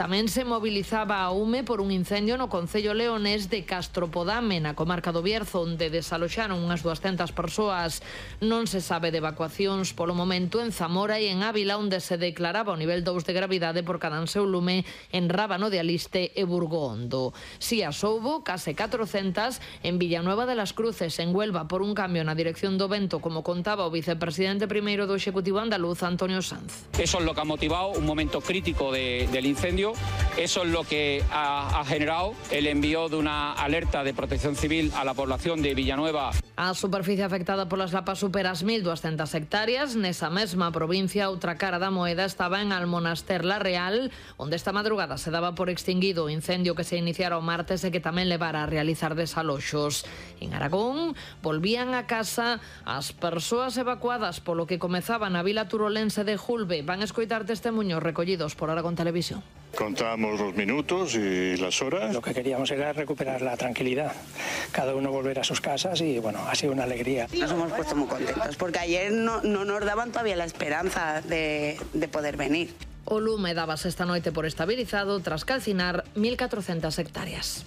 Tamén se mobilizaba a UME por un incendio no concello leonés de Castropodame, na comarca do Bierzo, onde desaloxaron unhas 200 persoas. Non se sabe de evacuacións polo momento en Zamora e en Ávila, onde se declaraba o nivel 2 de gravidade por cadanseu lume en Rábano de Aliste e Burgondo. Si as houbo, case 400 en Villanueva de las Cruces, en Huelva, por un cambio na dirección do vento, como contaba o vicepresidente primeiro do Executivo andaluz, Antonio Sanz. Eso es lo que ha motivado un momento crítico del incendio. Eso es lo que ha generado el envío de una alerta de protección civil a la población de Villanueva. A superficie afectada polas lapas supera as 1.200 hectáreas. Nesa mesma provincia, outra cara da moeda estaba en Almonaster la Real, onde esta madrugada se daba por extinguido o incendio que se iniciara o martes e que tamén levara a realizar desaloxos. En Aragón, volvían a casa as persoas evacuadas polo que comezaba na vila turolense de Julbe. Van a escoitar testemuños recollidos por Aragón Televisión. Contamos los minutos y las horas. Lo que queríamos era recuperar la tranquilidad, cada uno volver a sus casas y bueno, ha sido una alegría. Nos hemos puesto muy contentos porque ayer no nos daban todavía la esperanza de poder venir. O lume dábase esta noite por estabilizado tras calcinar 1.400 hectáreas.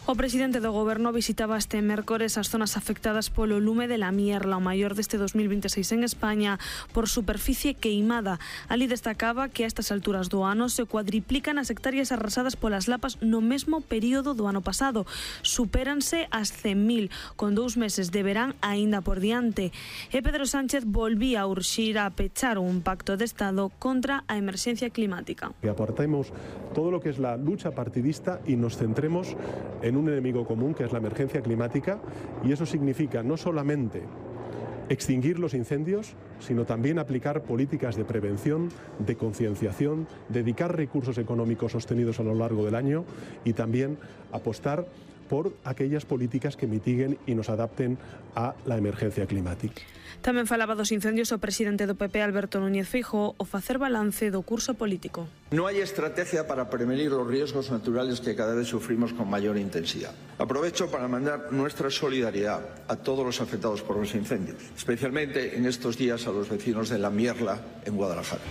O presidente do Goberno visitaba este mércores as zonas afectadas polo lume de la Mierla, o maior deste 2026 en España, por superficie queimada. Ali destacaba que a estas alturas do ano se cuadriplican as hectáreas arrasadas polas lapas no mesmo período do ano pasado. Supéranse as 100.000, con 2 meses de verán aínda por diante. E Pedro Sánchez volvía a urxir a pechar un pacto de Estado contra a emerxencia climática. Que apartemos todo lo que es la lucha partidista y nos centremos en un enemigo común, que es la emergencia climática, y eso significa no solamente extinguir los incendios, sino también aplicar políticas de prevención, de concienciación, dedicar recursos económicos sostenidos a lo largo del año y también apostar por aquellas políticas que mitiguen y nos adapten a la emergencia climática. Tamén falaba dos incendios o presidente do PP, Alberto Núñez Feijóo, ao facer balance do curso político. No hay estrategia para prevenir los riesgos naturales que cada vez sufrimos con mayor intensidad. Aprovecho para mandar nuestra solidaridad a todos los afectados por los incendios, especialmente en estos días a los vecinos de La Mierla, en Guadalajara.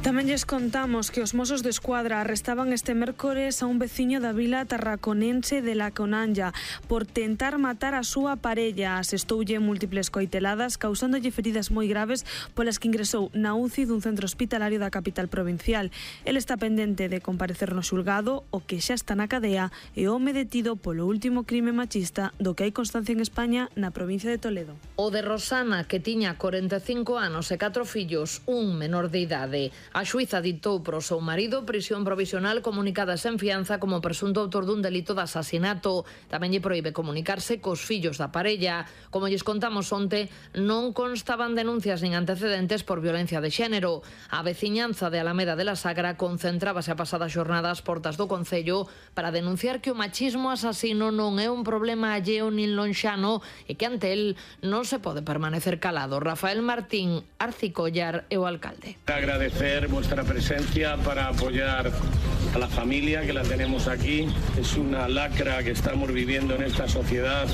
Tamén lles contamos que os Mossos de Escuadra arrestaban este mércores a un veciño da vila tarraconense de La Conanja por tentar matar a súa parella. Asestoulle múltiples coiteladas, causándolle feridas moi graves polas que ingresou na UCI dun centro hospitalario da capital provincial. El está pendente de comparecer no xulgado, o que xa está na cadea, e o home detido polo último crime machista do que hai constancia en España na provincia de Toledo. O de Rosana, que tiña 45 anos e 4 fillos, un menor de idade. A xuíza ditou pro seu marido prisión provisional comunicada sen fianza como presunto autor dun delito de asasinato. Tamén lle proíbe comunicarse cos fillos da parella. Como lles contamos onte, non constaban denuncias nin antecedentes por violencia de xénero. A veciñanza de Alameda de la Sagra concentrábase a pasadas xornadas portas do concello para denunciar que o machismo asasino non é un problema alleo nin lonxano e que ante el non se pode permanecer calado. Rafael Martín Arcicollar é o alcalde. Agradecer vuestra presencia para apoyar a la familia que la tenemos aquí. Es una lacra que estamos viviendo en esta sociedad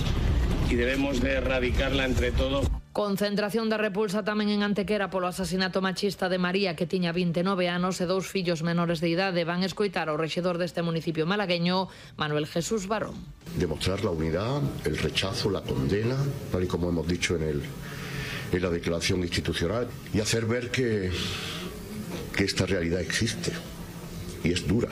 y debemos de erradicarla entre todos. Concentración de repulsa tamén en Antequera polo asasinato machista de María, que tiña 29 anos e 2 fillos menores de idade. Van escoitar ao rexedor deste municipio malagueño, Manuel Jesús Barón. Demostrar la unidad, el rechazo, la condena, tal y como hemos dicho en la declaración institucional, y hacer ver que esta realidad existe y es dura.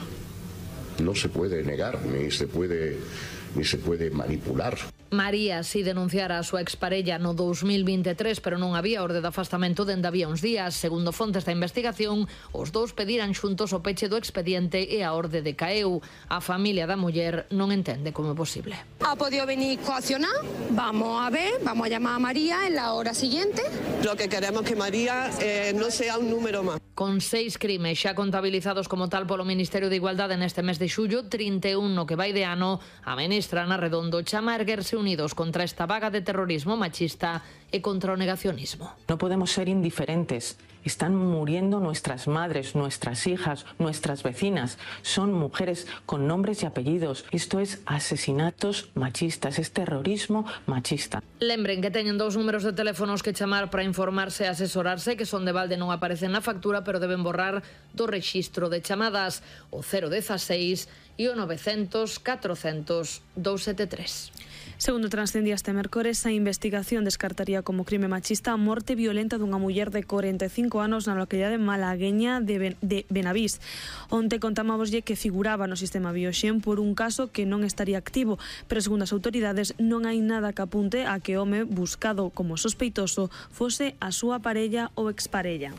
No se puede negar ni se puede manipular. María si denunciara a súa exparella no 2023, pero non había orde de afastamento dende había uns días. Segundo fontes da investigación, os dous pediran xuntos o peche do expediente e a orde decaeu. A familia da muller non entende como é posible. Ha podido venir coaccionar, vamos a ver, vamos a llamar a María en la hora siguiente. Lo que queremos que María no sea un número más. Con 6 crimes xa contabilizados como tal polo Ministerio de Igualdade neste mes de xullo, 31 no que vai de ano, a ministra Ana Redondo chama a erguerse unidos contra esta vaga de terrorismo machista e contra o negacionismo. No podemos ser indiferentes. Están muriendo nuestras madres, nuestras hijas, nuestras vecinas. Son mujeres con nombres y apellidos. Esto es asesinatos machistas, es terrorismo machista. Lembren que teñen 2 números de teléfonos que chamar para informarse e asesorarse, que son de balde, non aparecen na factura, pero deben borrar do rexistro de chamadas, o 016 e o 900 400 273. Segundo transcendía este mércores, a investigación descartaría como crime machista a morte violenta dunha muller de 45 anos na localidade malagueña de Benavís. Onte contámoslle que figuraba no sistema Bioxen por un caso que non estaría activo, pero segundo as autoridades non hai nada que apunte a que o home buscado como sospeitoso fose a súa parella ou exparella.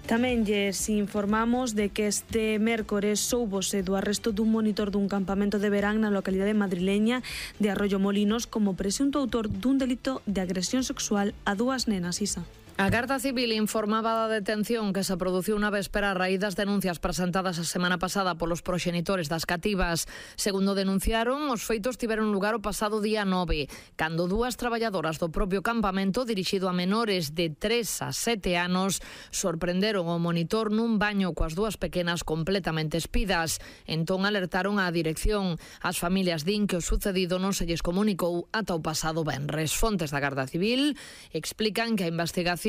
Tamén lles informamos de que este mércores soubose do arresto dun monitor dun campamento de verán na localidade madrileña de Arroyo Molinos como presunto autor dun delito de agresión sexual a 2 nenas, Isa. A Garda Civil informaba da detención que se produciu unha véspera a raíz das denuncias presentadas a semana pasada polos proxenitores das cativas. Segundo denunciaron, os feitos tiveron lugar o pasado día 9, cando 2 traballadoras do propio campamento, dirixido a menores de 3 a 7 anos, sorprenderon o monitor nun baño coas 2 pequenas completamente espidas. Entón alertaron á dirección. As familias din que o sucedido non se lles comunicou ata o pasado venres. Fontes da Garda Civil explican que a investigación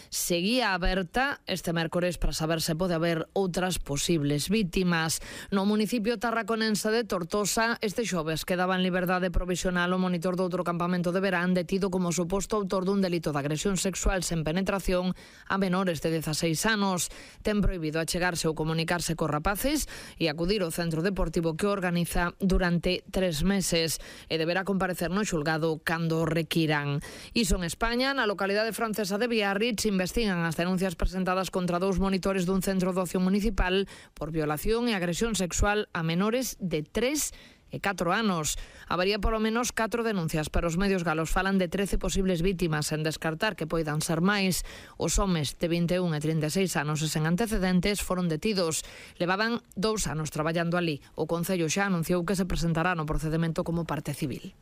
seguía aberta este mércores para saber se pode haber outras posibles vítimas. No municipio tarraconense de Tortosa, este xoves quedaba en liberdade provisional o monitor do outro campamento de verán detido como suposto autor dun delito de agresión sexual sen penetración a menores de 16 anos. Ten prohibido achegarse ou comunicarse cos rapaces e acudir ao centro deportivo que organiza durante 3 meses e deberá comparecer no xulgado cando requiran. Iso en España, na localidade francesa de Biarritz, investigan as denuncias presentadas contra 2 monitores dun centro de ocio municipal por violación e agresión sexual a menores de 3 e 4 anos. Habería polo menos 4 denuncias, pero os medios galos falan de 13 posibles vítimas, sen descartar que poidan ser máis. Os homes de 21 e 36 anos e sen antecedentes foron detidos. Levaban 2 anos traballando ali. O Concello xa anunciou que se presentará no procedemento como parte civil.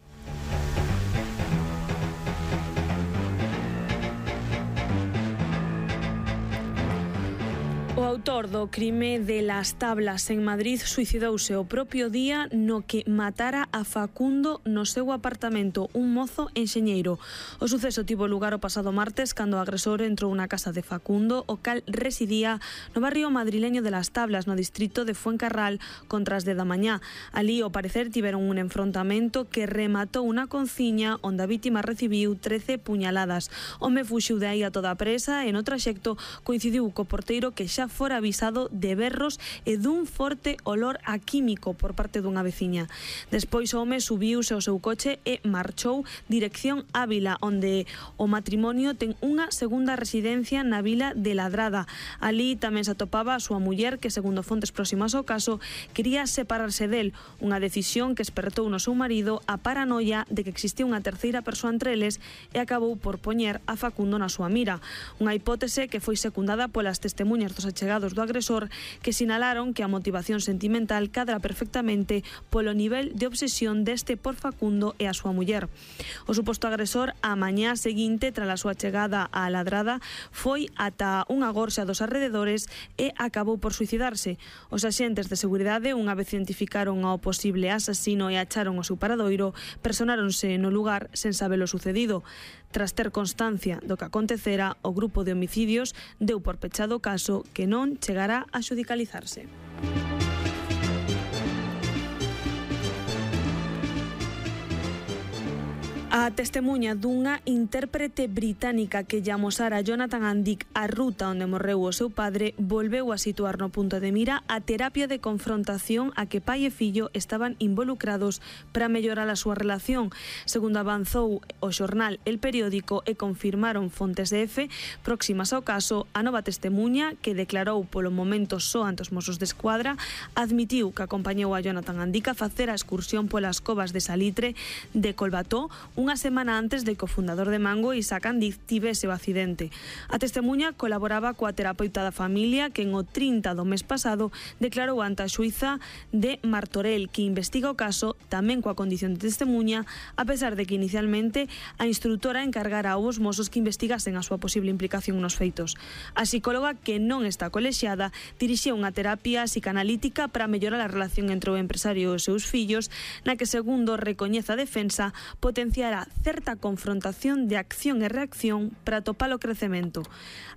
O autor do crime de Las Tablas en Madrid suicidouse o propio día no que matara a Facundo no seu apartamento, un mozo enxeñeiro. O suceso tivo lugar o pasado martes cando o agresor entrou na casa de Facundo, o cal residía no barrio madrileño de Las Tablas, no distrito de Fuencarral, contra as 10 da mañá. Ali, ao parecer, tiveron un enfrontamento que rematou unha conciña onde a vítima recibiu 13 puñaladas. O home fuxiu de aí a toda a presa e no traxecto coincidiu co porteiro que xa fora avisado de berros e dun forte olor a químico por parte dunha veciña. Despois o home subiuse ao seu coche e marchou dirección Ávila, onde o matrimonio ten unha segunda residencia na vila de Ladrada. Ali tamén se atopaba a súa muller que, segundo fontes próximas ao caso, quería separarse del, unha decisión que espertou no seu marido a paranoia de que existía unha terceira persoa entre eles e acabou por poñer a Facundo na súa mira. Unha hipótese que foi secundada polas testemunhas dos achegados do agresor, que sinalaron que a motivación sentimental cadra perfectamente polo nivel de obsesión deste por Facundo e a súa muller. O suposto agresor, a mañá seguinte, tras a súa chegada á Ladrada, foi ata unha gorxa dos arrededores e acabou por suicidarse. Os axentes de seguridade, unha vez identificaron ao posible asasino e acharon o seu paradoiro, personáronse no lugar sen saber o sucedido. Tras ter constancia do que acontecera, o grupo de homicidios deu por pechado o caso, que non chegará a xudicalizarse. A testemuña dunha intérprete británica que lle amosara a Jonathan Andic a ruta onde morreu o seu padre volveu a situar no punto de mira a terapia de confrontación a que pai e fillo estaban involucrados para mellorar a súa relación. Segundo avanzou o xornal El Periódico e confirmaron fontes de EFE próximas ao caso, a nova testemuña, que declarou polo momento só ante os Mossos de Escuadra, admitiu que acompañou a Jonathan Andic a facer a excursión polas covas de Salitre de Colbató unha semana antes de que o fundador de Mango, Isaac Andic, tivese o accidente. A testemuña colaboraba coa terapeuta da familia que en o 30 do mes pasado declarou ante a xuíza de Martorell, que investiga o caso tamén coa condición de testemuña, a pesar de que inicialmente a instrutora encargara aos mozos que investigasen a súa posible implicación nos feitos. A psicóloga, que non está colexiada, dirixía unha terapia psicanalítica para mellorar a relación entre o empresario e os seus fillos, na que, segundo recoñece a defensa, potenciará certa confrontación de acción e reacción para topar o crecemento.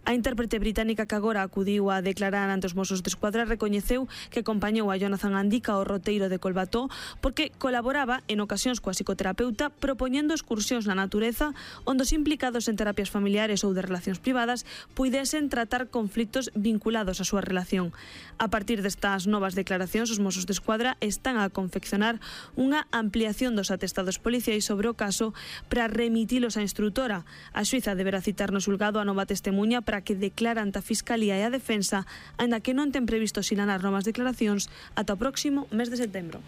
A intérprete británica que agora acudiu a declarar ante os Mossos de Escuadra recoñeceu que acompañou a Jonathan Andica ao roteiro de Colbató porque colaboraba en ocasións coa psicoterapeuta propoñendo excursións na natureza onde os implicados en terapias familiares ou de relacións privadas puidesen tratar conflitos vinculados á súa relación. A partir destas novas declaracións, os Mossos de Escuadra están a confeccionar unha ampliación dos atestados policiais sobre o caso para remitilos á instrutora. A xuíza deberá citar no xulgado a nova testemuña para que declara ante a Fiscalía e a Defensa, aínda que non ten previsto sinalar novas declaracións ata o próximo mes de setembro.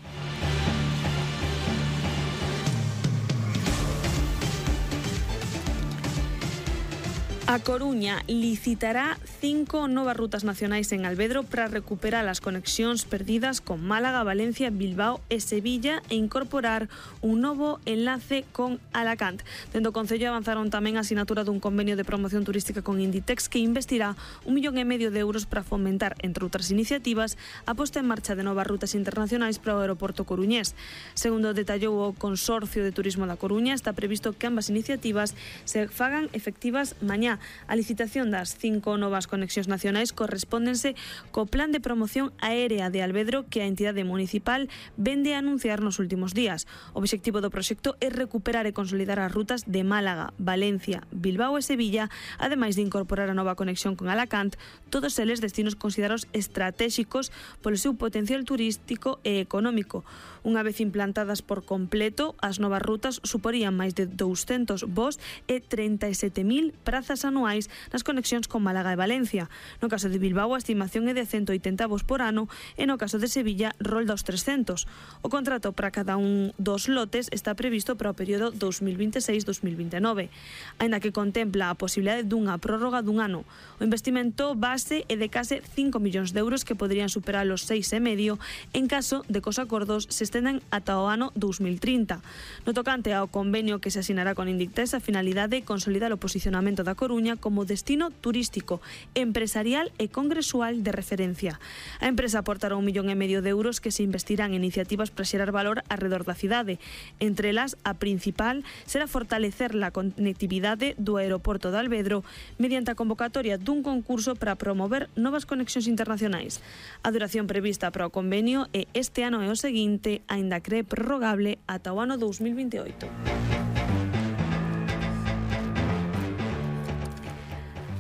A Coruña licitará 5 novas rutas nacionais en Alvedro para recuperar as conexións perdidas con Málaga, Valencia, Bilbao e Sevilla e incorporar un novo enlace con Alacant. Dentro do Concello avanzaron tamén a asinatura dun convenio de promoción turística con Inditex que investirá 1,5 millón de euros para fomentar, entre outras iniciativas, a posta en marcha de novas rutas internacionais para o aeroporto coruñés. Segundo detallou o Consorcio de Turismo da Coruña, está previsto que ambas iniciativas se fagan efectivas mañá. A licitación das 5 novas conexións nacionais correspóndense co plan de promoción aérea de Alvedro que a entidade municipal vende a anunciar nos últimos días. O obxectivo do proxecto é recuperar e consolidar as rutas de Málaga, Valencia, Bilbao e Sevilla, ademais de incorporar a nova conexión con Alacant, todos eles destinos considerados estratéxicos polo seu potencial turístico e económico. Unha vez implantadas por completo, as novas rutas suporían máis de 200 voos e 37.000 prazas anuais nas conexións con Málaga e Valencia. No caso de Bilbao, a estimación é de 180 voos por ano e no caso de Sevilla rolda os 300. O contrato para cada un dos lotes está previsto para o período 2026-2029, aínda que contempla a posibilidade dunha prórroga dun ano. O investimento base é de case 5 millóns de euros que poderían superar os 6,5 en caso de que os acordos se estendan ata o ano 2030. No tocante ao convenio que se asinará con Inditex, a finalidade é consolidar o posicionamento da Coruña como destino turístico, empresarial e congresual de referencia. A empresa aportará 1,5 millón de euros que se investirán en iniciativas para xerar valor arredor da cidade. Entre elas, a principal será fortalecer a conectividade do aeroporto de Alvedro mediante a convocatoria dun concurso para promover novas conexións internacionais. A duración prevista para o convenio é este ano e o seguinte, aínda que é prorrogable ata o ano 2028.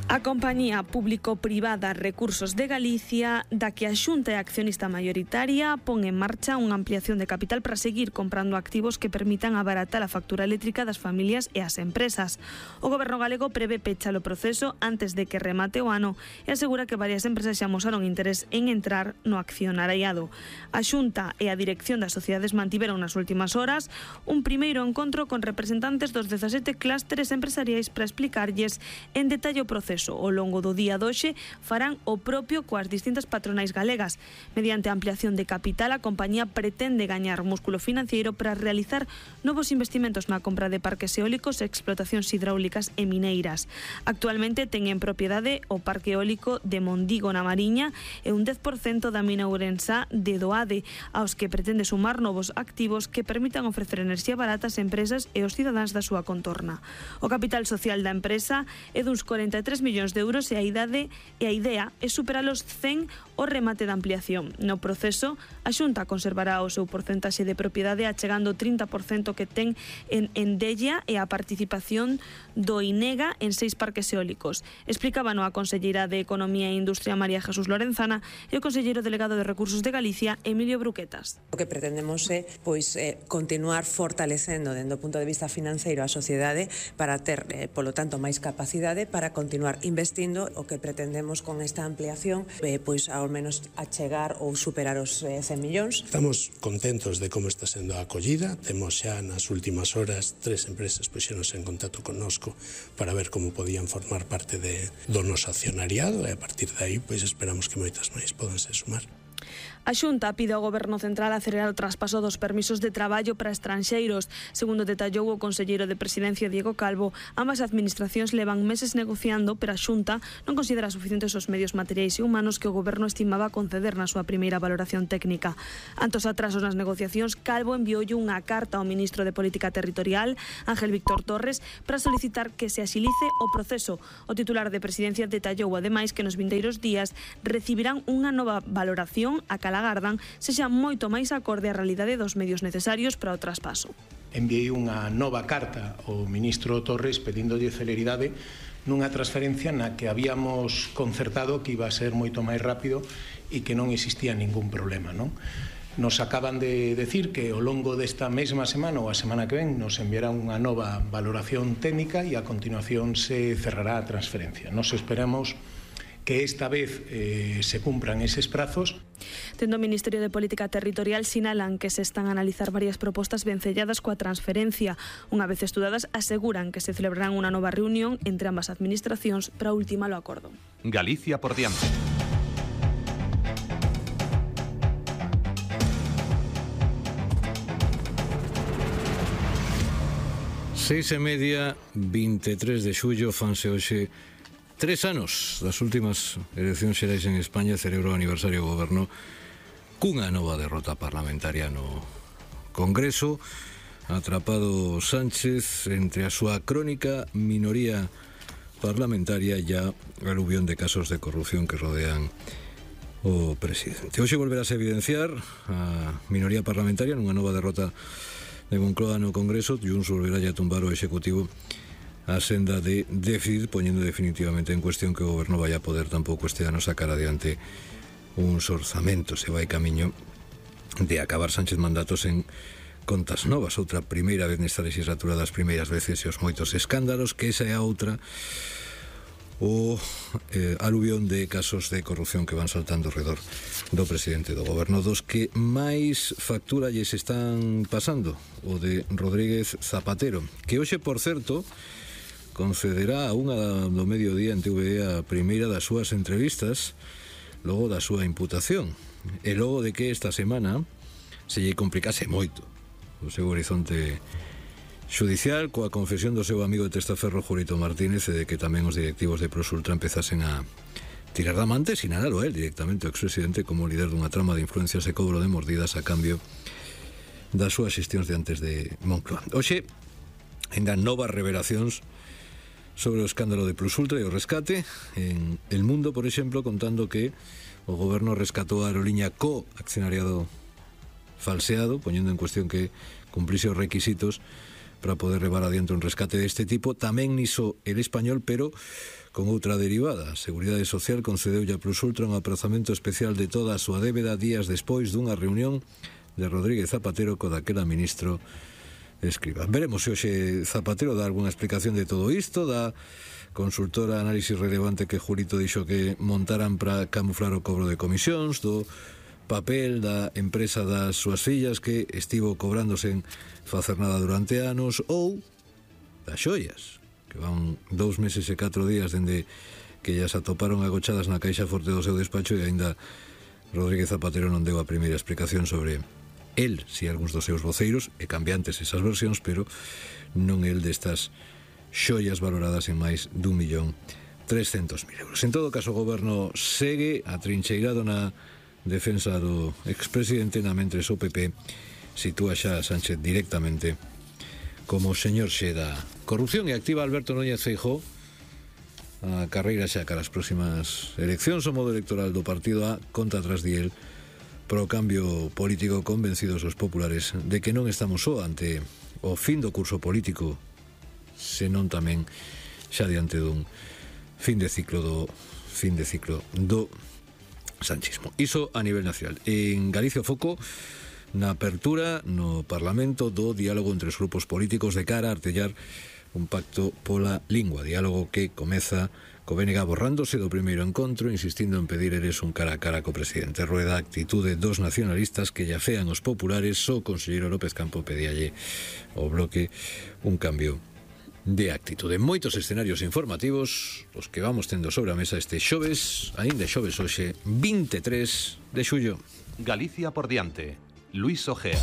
A compañía público-privada Recursos de Galicia, da que a Xunta é accionista maioritaria, pon en marcha unha ampliación de capital para seguir comprando activos que permitan abaratar a factura eléctrica das familias e as empresas. O Goberno galego prevé pechar o proceso antes de que remate o ano e asegura que varias empresas xa mostraron interés en entrar no accionariado. A Xunta e a dirección das sociedades mantiveron nas últimas horas un primeiro encontro con representantes dos 17 clústeres empresariais para explicarlles en detalle o proceso. Ao longo do día doxe farán o propio coas distintas patronais galegas. Mediante a ampliación de capital, a compañía pretende gañar músculo financiero para realizar novos investimentos na compra de parques eólicos e explotacións hidráulicas e mineiras. Actualmente ten en propiedade o parque eólico de Mondigo na Mariña e un 10% da mina ourensá de Doade, aos que pretende sumar novos activos que permitan ofrecer enerxía barata ás empresas e aos cidadáns da súa contorna. O capital social da empresa é duns 43 millóns de euros e a idea é superar os 100 o remate da ampliación. No proceso, a Xunta conservará o seu porcentaxe de propiedade achegando o 30% que ten en Endella e a participación do INEGA en 6 parques eólicos. Explicaban a conselleira de Economía e Industria María Jesús Lorenzana e o conselleiro delegado de Recursos de Galicia Emilio Bruquetas. O que pretendemos é continuar fortalecendo dende o punto de vista financeiro a sociedade para ter, polo tanto, máis capacidade para continuar investindo. O que pretendemos con esta ampliación ao menos achegar ou superar os 100 millóns. Estamos contentos de como está sendo a acollida. Temos xa nas últimas horas 3 empresas puxéronse en contacto connosco para ver como podían formar parte do noso accionariado e a partir de aí esperamos que moitas máis podanse sumar. A Xunta pide ao Goberno Central acelerar o traspaso dos permisos de traballo para estranxeiros. Segundo detallou o conselleiro de Presidencia Diego Calvo, ambas administracións levan meses negociando, pero a Xunta non considera suficientes os medios materiais e humanos que o Goberno estimaba conceder na súa primeira valoración técnica. Ante os atrasos nas negociacións, Calvo envioulle unha carta ao ministro de Política Territorial, Ángel Víctor Torres, para solicitar que se axilice o proceso. O titular de Presidencia detallou ademais que nos vindeiros días recibirán unha nova valoración a cala agardan sexa moito máis acorde á realidade dos medios necesarios para o traspaso. Enviei unha nova carta ao ministro Torres pedíndolle celeridade nunha transferencia na que habíamos concertado que iba a ser moito máis rápido e que non existía ningún problema, non? Nos acaban de decir que ao longo desta mesma semana ou a semana que ven nos enviará unha nova valoración técnica e a continuación se cerrará a transferencia. Nos esperamos que esta vez se cumpran eses prazos. Tendo o Ministerio de Política Territorial sinalan que se están a analizar varias propostas vencelladas coa transferencia. Unha vez estudadas, aseguran que se celebrarán unha nova reunión entre ambas administracións para ultimar o acordo. Galicia por diante. Seis e media, 23 de xullo, fanse hoxe 3 anos das últimas eleccións xerais en España. Celebra o aniversario do goberno cunha nova derrota parlamentaria no Congreso. Atrapado Sánchez entre a súa crónica minoría parlamentaria e a aluvión de casos de corrupción que rodean o presidente. Hoxe volverás a evidenciar a minoría parlamentaria nunha nova derrota de Moncloa no Congreso. Junts volverá a tumbar o Executivo a senda de déficit, poñendo definitivamente en cuestión que o goberno vai a poder tampouco este ano sacar adiante uns orzamentos. Se vai camiño de acabar Sánchez mandatos en contas novas, outra primeira vez nesta legislatura das primeiras veces e os moitos escándalos, que esa é a outra, o aluvión de casos de corrupción que van saltando ao redor do presidente do goberno. Dos que máis factura lles están pasando, o de Rodríguez Zapatero, que hoxe, por certo, concederá a unha do mediodía en TVE a primeira das súas entrevistas logo da súa imputación e logo de que esta semana se lle complicase moito o seu horizonte xudicial coa confesión do seu amigo de testaferro Julito Martínez e de que tamén os directivos de Prosultra empezasen a tirar da manta e sinalalo a él directamente, o expresidente, como líder dunha trama de influencias e cobro de mordidas a cambio das súas xestións de antes de Moncloa. Hoxe, ainda novas revelacións sobre o escándalo de Plusultra e o rescate. En El Mundo, por exemplo, contando que o goberno rescatou a aerolínea co accionariado falseado, poñendo en cuestión que cumplise os requisitos para poder levar adiante un rescate deste tipo. Tamén niso El Español, pero con outra derivada. A Seguridade Social concedeulle a Plusultra un aprazamento especial de toda a súa débeda días despois dunha reunión de Rodríguez Zapatero co daquela ministro Escrivá. Veremos se hoxe Zapatero dá algunha explicación de todo isto, da consultora Análisis Relevante que Julito dixo que montaran para camuflar o cobro de comisións, do papel da empresa das súas fillas que estivo cobrándose en facer nada durante anos, ou das xoias, que van 2 meses e 4 días dende que ellas atoparon agochadas na caixa forte do seu despacho e aínda Rodríguez Zapatero non deu a primeira explicación sobre el, si algúns dos seus voceiros, e cambiantes esas versións, pero non el destas xoias valoradas en máis de 1.300.000 euros. En todo caso, o goberno segue atrincheirado na defensa do expresidente, na mentres o PP sitúa xa a Sánchez directamente como señor xe da corrupción e activa Alberto Núñez Feijóo a carreira xa cara as próximas eleccións. O modo electoral do partido a conta atrás de él pro cambio político, convencidos os populares de que non estamos só ante o fin do curso político, senón tamén xa diante dun fin de ciclo do sanchismo. Iso a nivel nacional. En Galicia o foco na apertura no Parlamento do diálogo entre os grupos políticos de cara a artellar un pacto pola lingua, diálogo que comeza co BNG borrándose do primeiro encontro, insistindo en pedir eres un cara a cara co presidente. Rueda a actitude dos nacionalistas que lla fean os populares. O conselleiro López Campo pedíalle ao Bloque un cambio de actitude. Moitos escenarios informativos os que vamos tendo sobre a mesa este xoves, aínda xoves hoxe, 23 de xullo. Galicia por diante. Luis Ojea.